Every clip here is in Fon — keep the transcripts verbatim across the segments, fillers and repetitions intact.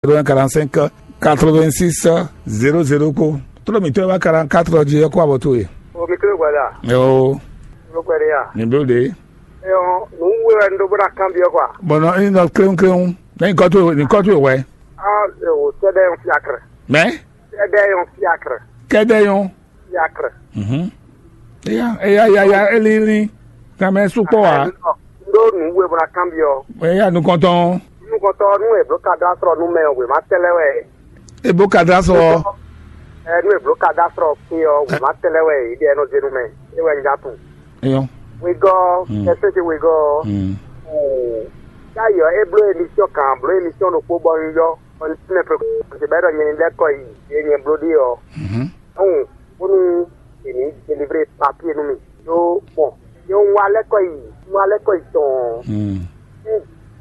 zéro un quarante cinq quatre vingt six zéro zéro kpó. Tló mǐtɔn e wá quarante quatre ɔ́ jí ɔ́ kó abɔ towe. O mi kéré gbada. Yo, Ló kpɛ ɖe ya. Mi bló ɖe. Eyɔn, nǔ wú wɛ un ɖó bó ná kanbyɔ́ kwa. Bɔn nɔ ní nɔ kléwún kléwún. Ní kɔ towe, ní kɔ towe wɛ. Ah, o sɛdɛ yon fiacre. Mɛ? Sɛdɛ yon fiacre. Kɛdɛ yon. Fiacre. Mhm. Eya, eya, ya, ya, elili. Kan mɛ sukpɔ wa. Un ɖó nǔ wú wɛ bó ná kanbyɔ́. Eya nukɔntɔn. Nukɔntɔ nú e bló ka dó asrɔ nú mɛ ɔ́, wěma tɛ́ lɛ́ wɛ. Ebo ka dó asrɔ. Ɛ nú e bló ka dó asrɔ kpé ɔ́, wěma tɛ́ lɛ́ wɛ yě ɖe ɛnɔ zé nú mɛ. É wɛ un já tunwun. Eyɔn. Wegɔ́, Mm. Kɛsɛ́ ce wegɔ́. Mm. Yáyɔ é bló émission kan, bló émission ɖokpó bɔ un yɔ. Ɔ ní mɛ pé kɔsí bɛ́ ɖɔ nyɛ ní lɛ́ kɔ yi, yé nyɛ bló ɖe ɔ́. Mhm. Ɔn, bónú è nǐ délivré papier nú mì. Ɖó bɔn, nyɛ un wá lɛ́ kɔ yi, un wá lɛ́ kɔ yi tɔn. Mm.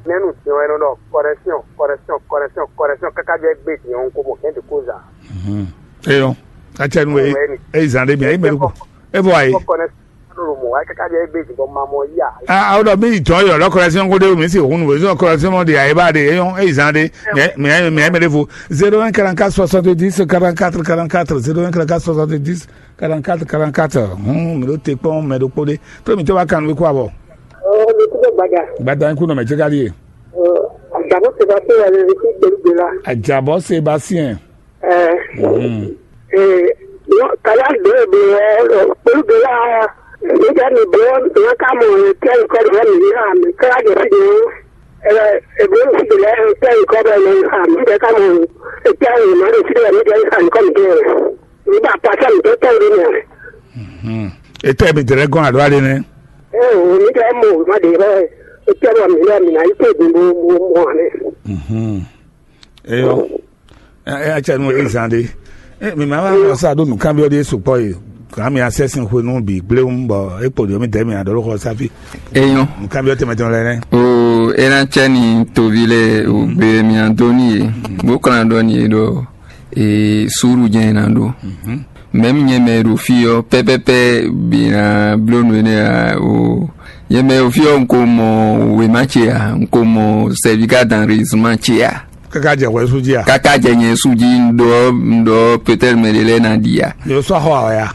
Nɛnu din ɔ́, é nɔ ɖɔ correction, correction, correction, correction, káká jɛ gbé din ɔ́, un ko mɔ kɛn de kóza. Mhm. Eyɔn, atsɛnu e, Wɛni. E zan ɖe mia, e mɛ ɖo. E vɔ ayi. Kɔ correction ɖo mɔ wá káká jɛ gbé din bɔ ma mɔ yá. A o ɖɔ mi yi tɔn yɔ lɔ correction ko ɖe mi si hun nu zɔn correction mɔ de ayi ba de eyɔn, e zan ɖe. Mia mia mia mɛ ɖe vo. Zéro un quarante quatre soixante dix quarante quatre quarante quatre, zéro un quarante quatre soixante dix quarante quatre quarante quatre. Hun mi ɖo te kpɔn mɛ ɖokpó ɖe. Tó mi tɛ wá kan wí kó abɔ. Ɔ, mi kúndé gbadza. Gbadza ń kú nɔ mɛ jẹ́ ká ɖíe. Ɔ, àgbàdo ti bá tó wà lórí sí pẹ̀lú gbé la. Àjàbọ̀ Sébastien. Ɛ, Mhm. Ɛ, kàyà dó èdè ɛ pẹ̀lú gbé la. Nígbà mi bọ́, ìyá ká mọ̀ ẹ̀ tẹ́ nǹkan rẹ̀ mi ní àmì káyà dé sí ni. Ɛ, èbó sì dè lẹ́ ẹ̀ tẹ́ nǹkan rẹ̀ mi àmì jẹ́ ká mọ̀ ẹ̀ tẹ́ ẹ̀ má dé sí ẹ̀ mi jẹ́ àmì kọ́ mi dé rẹ̀. Nígbà pàṣẹ mi tó tẹ́ ìlú mi rẹ̀. Mhm. Etɛ mi dɛrɛ gɔn alo ale nɛ. Ɛ, ò mi dɛ mɔ ma de rɛ. Etɛ mɔ mi lɛ mi na yi tó dun bo bo mɔ ne. Mhm. Eyɔ. Ɛ ɛ atsɛ nu ezan de. Ɛ mi ma ma wɔ sa do nùkanbyɔ de sukpɔ yi. Kan mi asɛ sin hwe nu bi gblewun bɔ e kpo de mi dɛ mi adɔ lɔ xɔ safi. Eyɔn. Nùkanbyɔ tɛmɛ tɛmɛ lɛ nɛ. O ena tsɛ ni tovi lɛ o gbe mi adoni ye. Bo klan dɔ ni ye dɔ. E suru jɛ na do. Mɛm nyɛ mɛ ɖo fí ɔ́ pɛ́pɛ́pɛ́ bǐ ná bló nǔ énɛ́ ǎ o. Nyɛ mɛ ɖo fí ɔ́, un ko mɔ wěma ce ǎ, un ko mɔ sɛvika danrisma ce ǎ. Káká jɛ hwɛ sú jí a? Káká jɛ nyɛ sú jí, un ɖɔ, un ɖɔ peut-être mɛ ɖé lɛ́ɛ ná ɖi a. Yóò sɔ́ xɔ awɛ a?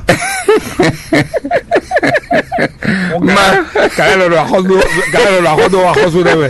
Ma. Kàlẹ́ lọ ɖo axɔ́sú, kàlẹ́ lɔ ɖo axɔ́sú, axɔ́sú ɖɛ mɛ.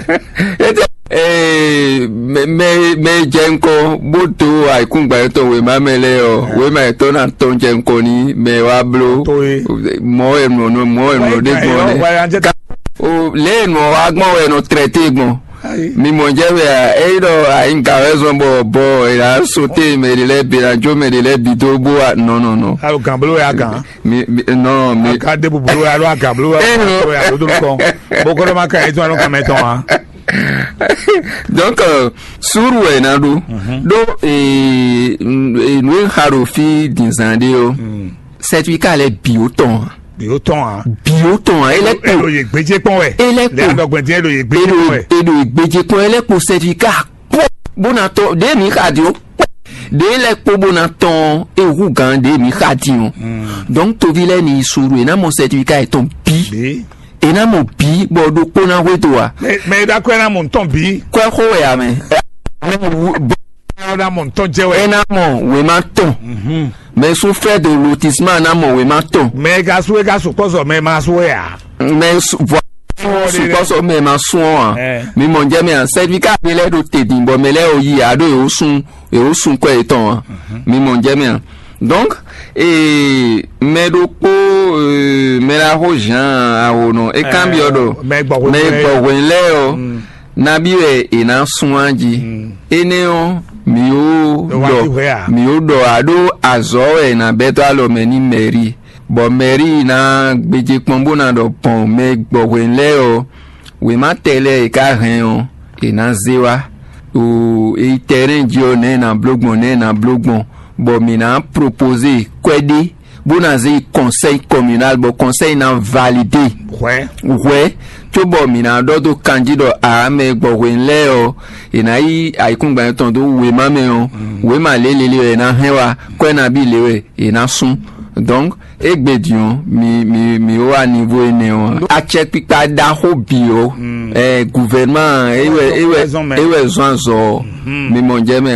Ete ee mɛ mɛ mɛ jɛ ŋkɔ bó dó ayǐkúngban yětɔn wěma mɛ lɛ́ɛ ɔ́, wěma yětɔn ná tɔn jɛ ŋkɔ ní mɛ wá bló. Tó ye. Mɔ̌ wɛ nɔ nɔ mɔ̌ wɛ nɔ ɖé gbɔn nɛ. Wáyé anjɛ. Ka o lě e nɔ wá gbɔn wɛ nɔ trɛté gbɔn. Ayi. Mi mɔ jɛ wɛ a, eyi ɖɔ ayi ŋka wɛ zɔn bɔ bɔ e la sote mɛ ɖe lɛ bi la jo mɛ ɖe lɛ bi dó bó wa nɔ nɔ nɔ. Alo gan bolo ya gan. Mi mi nɔ mi. Aga de bubulu ya lo aga bolo ya. Eh, non. Ya lo dolo kɔn. Bokolo ma ka eto alo kan mɛ tɔn wa. Donc euh, suru wɛ na ɖo. Ɖo ee n- ee, nu e xa ɖo fí dǐnzán ɖé ɔ́, certificat lɛ bǐ ó tɔn ǎ. Bǐ ó tɔn ǎ. Bǐ ó tɔn ǎ. E lɛ Elo kpo ye gbedze kpɔn wɛ. E lɛ kpo. Le adɔgbɛn dín elo ye gbedze Eɖo kpɔn wɛ. Eɖo gbedze kpɔn e lɛ kpo certificat kpɔ bó na tɔ ɖe mi xa di o kpɔ ɖe lɛ kpo bó na tɔn ehu gan ɖe mi xa di o. Donc tovi lɛ ni suru e na mɔ certificat etɔn bi. Bí. E na mɔ bi bɔ ɖokpó na hwe do wa. Mɛ mɛ e ɖo akwɛ na mɔ ntɔn bí. Kwɛ xo wɛ ya mɛ. Ɔ na mɔ ntɔn jɛ wɛ. E na mɔ wema tɔn. Mɛ sún frais de lotissement na mɔ wema tɔn. Mɛ e ka su e ka su kpɔsɔ mɛ ma su wɛ ya. Mɛ su vɔ sukpɔsɔ mɛ ma sún ɔ a. Mi mɔ jɛ mɛ a certificat bi lɛ ɖo te din bɔ mɛ lɛ o yi a ɖo ewo sun ewo sun kɔ etɔn a. Mi mɔ jɛ mɛ a. Donc ee mɛ ɖokpó ee mɛ la xo jean awo nɔ e kan bi ɔ ɖɔ mɛ gbɔ hwelɛn lɛ ɔ. Nabi wɛ è nǎ sun á jí. Énɛ́ ɔ́, mǐ ó ɖɔ mǐ ó ɖɔ aɖó azɔ̌ wɛ è nǎ bɛ́ dó alɔ mɛ n'i mɛ̌ri, bɔ mɛ̌ri ná gbéjé kpɔ́n bó ná ɖɔ gbɔn mɛ gbɔhwɛ́n lɛ́ɛ ɔ́, wěma tɛ lɛ́ɛ è ka hɛn ɔ́, è nǎ zé wá. Ɖo è yi tɛrɛ́n jí ɔ́, nɛ̌ è nǎ bló gbɔn, nɛ̌ è nǎ bló gbɔn, bɔ mǐ ná propozé kwɛ́ ɖé bó ná zé yi conseil communal bɔ conseil ná validé hwɛ hwɛ cóbɔ mǐ ná ɖɔ dó kanjí ɖɔ ǎ mɛ e gbɔ hwenu lɛ́ɛ ɔ́ è nǎ yí ayǐkúngban tɔn dó wěma mɛ ɔ́, wěma lě lélé wɛ è nǎ hɛn wá, kwɛ́ nabí lě wɛ è nǎ sú. Donc, égbé din ɔ́, mi mi mi wá niveau énɛ́ ɔ́, acɛkpikpa ɖaxó bǐ ɔ́, ɛ gouvernement é wɛ é wɛ é wɛ zɔn azɔ ɔ́, mi mɔ jɛ mɛ.